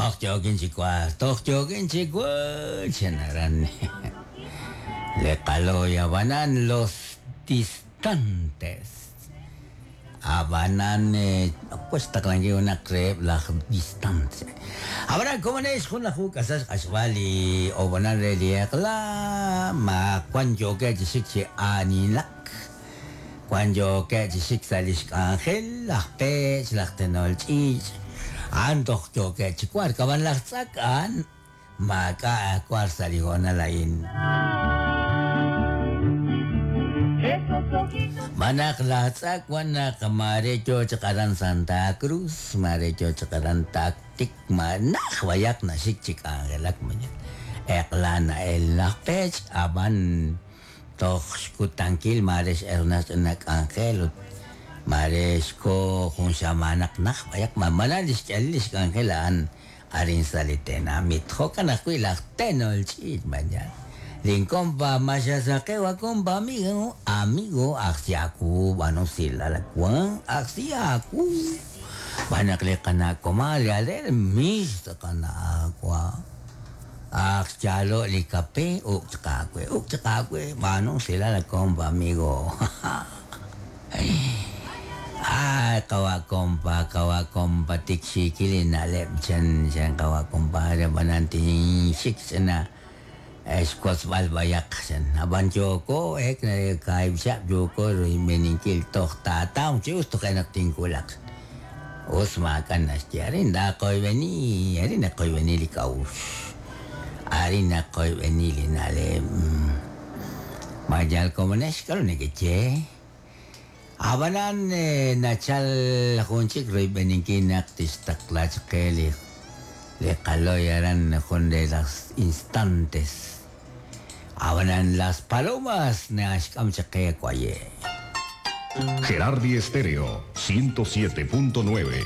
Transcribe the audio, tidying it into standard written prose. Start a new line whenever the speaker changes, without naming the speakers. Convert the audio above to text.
Toj yookin chi wark, toj yookin chi wark, chan aran li qalooy. Ab'anan los distantes. Ab'anan wan xtaqlankil junaq reheb' laj distantes. Ab'anan komonex 11 k'asal xq'axb'al li ob'onal re li eq'la, ma wan yookeb' chi xik chi aanilak, wan yookeb' chi xik sa' li xk'anjel, laj peech', laj tenol ch'iich', a'an toj yookeb' chi wark, ab'an laj tz'ak a'an maak'a' war sa' li hoonal a'in. Xb'aan naq laj tz'ak wan naq maare yo chaq aran Santa Cruz, maare yo chaq aran Tactic, ma naj b'ayaq naxik chi k'anjelak mañana. Eq'la na'el laj peech', ab'an toj xkutankil maare x'erna ch'ina k'anjel ut maare xko jun xamaanaq naj b'ayaq, ma malal li xk'elil li xk'anjel a'an arin sa' li tenamit. Jo'kan ajwi' laj tenol ch'iich' mañana. Linkompa maxasaqew kompa amigo, amigo ajsi aawu b'aanu usilal wan ajsi aawu. Xb'aan naq li qana' komal ale mis qana' wa. Aj xyaalo' li kape uk' chaq aawe, uk' chaq aawe, b'aanu usilal kompa amigo. Ay, qawa' kompa, qawa' kompa, tik xiikil li na'leb' chan chan qawa' compadre, ab'anan tinxik ch'ina xwotzb'al b'ayaq chan. Ab'an yooko ek kaahib' chihab' yooko royb'eninkil toj taataw chi us toje' naq tinwulaq. Us maak'a' naxye, arin naqoyb'eni, arin naqoyb'eni li k'a'uxl, arin naqoyb'eni li na'leb'. Ma yal komonex k'aru nekeye? Ab'anan nachal jun chik royb'eninkil naq tixtaqla chaq qe li li qaloy aran jun de las instantes. Ab'anan las palomas naxk'am chaq qe waye'.
Gerardi Estéreo 107.9.